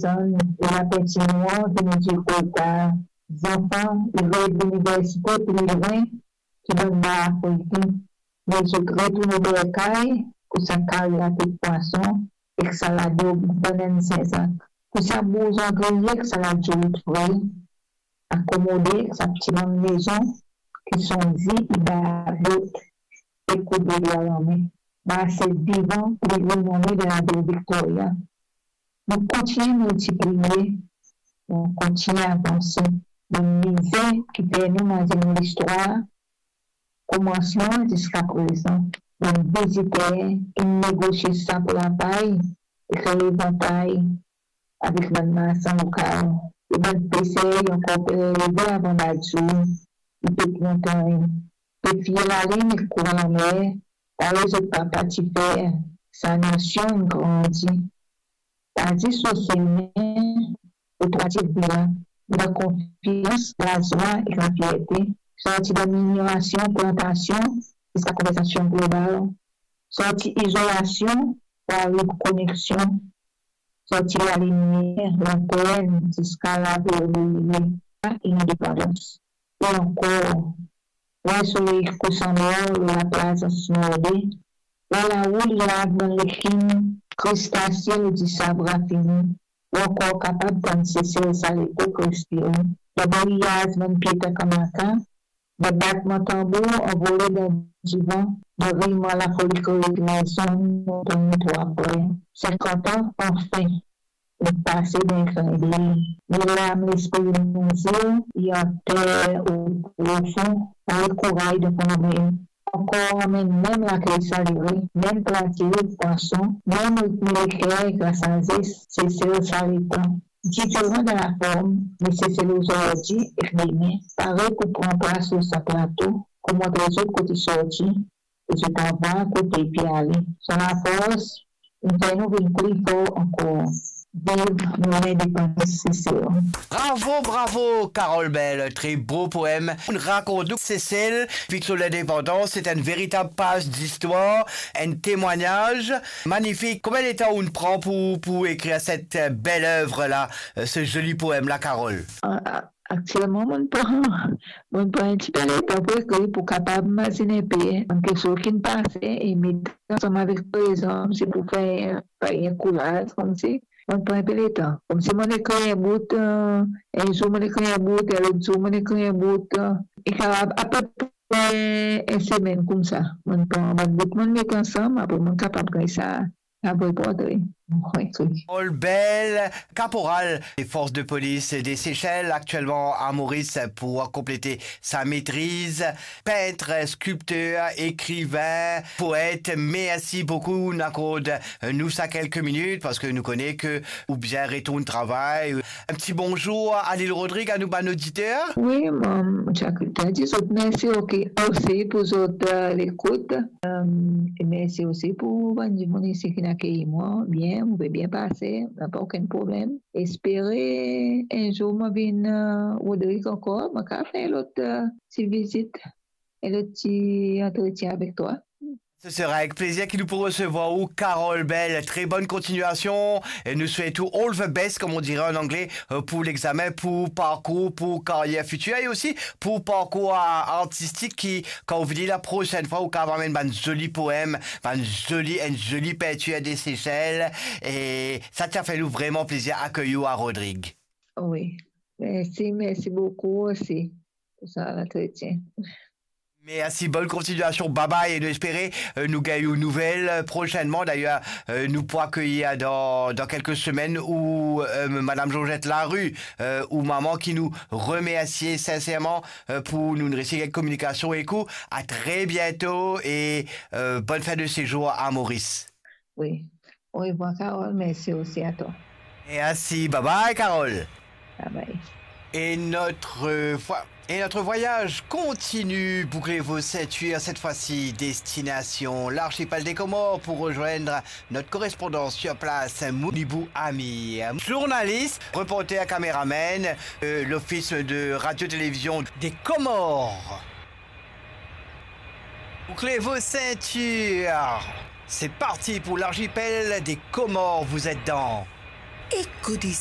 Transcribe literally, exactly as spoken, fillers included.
Zan e lapintinwar ki nou dir kolta zanfan, li rod liniversite pli lwin ki bann bar Afrikin. Me zot retourne dan kay pou sa kari latet pwason ek sa ladob Bannann Sin Zak, pou sa bouzon griye ek sa lazout fri, akomode ek sa pti bann mezon ki sonn zi e babot ek kout bebe a lame. Marse vivan, pli renome dan lavil Viktoria. Nou kontigne miltipliye, nou kontigne avanse. Bann mize ki fer nou mazinn listwar, komansman ziska prezan. Bann viziter ki negosie sap lapay e kree vantay avek bann marsan lokal. E bann peser ankor pe leve avan lazour, e pep montagn pe fiy lalinn ek kouran lanmer, parey zot papa ti fer. Sa nasion inn grandi. Pa zis lor sime, lor trwa tir vila, dan konfians, lazwa ek lafierte, sorti dan minorasion, plantasion, ziska konversasion global, sorti izolasion pou ariv koneksion, sorti lalimier, latern, ziska laverniye, sa inedepandans. E ankor, war soley kous anmor lor laplas Ansnorde, war laou li lav bann lekim, kristase lor disab rafine, ou ankor kapab tann Sesel sa lepok respire, dan bouyaz bann pie takamaka, dan batman tanbour anvole dan divan, dan rimwar lafoli kree lezonn, dan trwa frer. Sinkant an, anfin, inn pase dan enn klinndey. Li lam lespri nou zil, li anter o profon, parey koray dan fon lamem. Ankor mem, mem lakey salere, mem plati pwason, mem ritme leker ek lasazes, Sesel sa letan. Diferan dan laform, me Sesel ozordi ek demin, pare pou pran plas lor sa plato, pou montre zot kot li sorti, e zot ava kot li pe ale. Sa lafors inn fer nou vinn pli for ankor. Viv nou lindepandans Sesel. Bravo, bravo, Carole Bell, très beau poème. Ou rakont nou Sesel, vit so lindepandans, c'est une véritable page d'histoire, un témoignage magnifique. Combien de temps ou pran pou, pou ekrir cette belle œuvre-là, euh, ce joli poème-là, Carole ? Ah, ah, Aktielman, mo'nn pran, mo'nn pran enn tipe letan pou ekrir, pou kapav mazinn enn pe, an kiksoz ki'nn pase, e met ansam avek prezan, se pou fer, fer enn koulaz, koumsi. Mo'nn pran enn pe letan. Koumsi mo'nn ekrir enn bout, eh, enn zour mo'nn ekrir enn bout, e lot zour mo'nn ekrir enn bout, eh, e kapav apepre enn semenn koumsa. Mo'nn pran bann bout, mo'nn met ansam, apre mo'nn kapav gagn sa, sa vremem portre. Wi, wi. Carole Bell, caporal des forces de police des Seychelles, actuellement à Maurice pour compléter sa maîtrise. Peintre, sculpteur, écrivain, poète, merci beaucoup. Nou akord nou sa kelke minit parski nou kone ke ou bizin retourn travay. Un petit bonjour à Lille Rodrigue, à nou bann oditer. Wi, mo, mo ti a dir zot mersi, ok, osi pou zot, eh, lekout. Eh, e mersi osi pou bann dimoun isi ki'nn akeyi mwa bien, mo pe bien pase, napa okenn problem. Espere enn zour mo vinn, eh, Rodrigue ankor, mo kapav fer lot, eh, ti vizit, enn lot ti antretien avek twa. Ce sera avec plaisir ki nou pou resevwar ou, Carole Bell. Très bonne continuation. Et nous souhaitons all the best, comme on dirait en anglais, euh, pour l'examen, pour parcours, pour carrière future et aussi pour parcours a-, artistique ki, kan ou vini la prosenn fwa, ou kapav amenn bann zoli poem, bann zoli, enn zoli pintir de Sesel. E sa ti a fer nou vreman plezir akey ou a Rodrigue. Wi. Mersi, mersi boukou osi pou sa lantretien. Mersi, bonne continuation, bye bye, e nou espere, euh, nou gagn ou nouvel, euh, prochainement. D'ailleurs, euh, nou pou akeyir dan, dan kelke semenn ou, euh, Madame Georgette Larue, euh, ou mama ki nou remersie sinserman, euh, pou nou resi gagn kominikasion ek ou. À très bientôt et, euh, bonne fin de séjour à Maurice. Wi. Orevwar, Carole. Mersi osi a twa. Mersi. Bye bye, Carole. Bye bye. Et notre, euh, voi-, et notre voyage continue. Bouclez vos ceintures. Cette fois-ci, destination l'archipel des Comores pour rejoindre notre correspondant sur place, Mounibou Amir. Journaliste, reporter, caméraman, euh, l'Office de Radio-Télévision des Comores. Bouclez vos ceintures. C'est parti pour l'archipel des Comores. Vous êtes dans Écho des